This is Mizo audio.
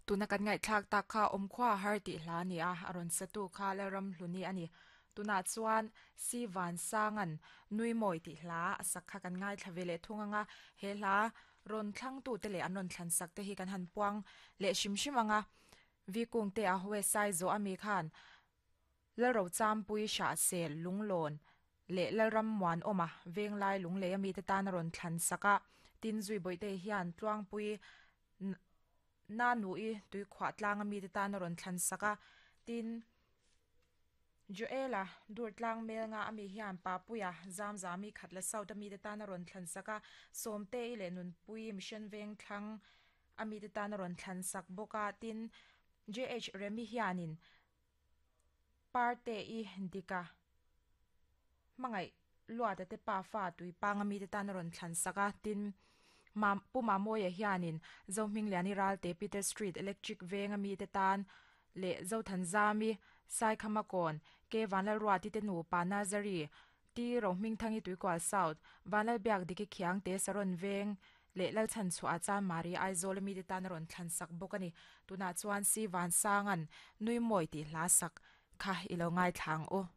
Tuna kan ngaihthlak tak kha awmkhua a har tih hla a ni a, a rawn satu kha Lalramhluni a ni. Tunah chuan Si Vansanga'n Nui Mawi tih hla a sak kha kan ngaithla ve leh thung ang a, he hla rawn thlangtute leh an rawn thlan sak te hi kan han puang leh hrim hrim ang a. Vikungte a West Saizawh ami khan Lalrochampui Hrahsel Lunglawn leh Lalram Muanawma Venglai Lunglei ami te tan a rawn thlan sak a, tin Zuibawihte hian Tluangpui Nanui tuikhuah tlang ami te tan a rawn thlan sak a, tin Joela Durtlang Melnga ami hian Papuia Zamzami Khatla South ami te tan a rawn thlan sak a, Sawmtei leh Nunpui Mission Vengthlang ami te tan a rawn thlan sak bawk a, tin JH Remi hianin Parte-i Dika hmangaih Luata te pa fa Tuipanga mite tan a rawn thlan sak a, tin Pu Mamawia hianin Zohmingliani Ralte Peter Street Electric Venga mite tan leh Zothanzami Saikhamakawn K Vanlalruati te nupa Nazari T Rohmingthangi Tuikual South Vanlalbiakdiki Khiangte Saron Veng leh Lalchhanchhuah chuan Mari Aizawl mite tan a rawn thlan sak bawk a ni. Tunah chuan Si Vansanga'n Nui Mawi tih hla sak kha i lo ngaithla ang u.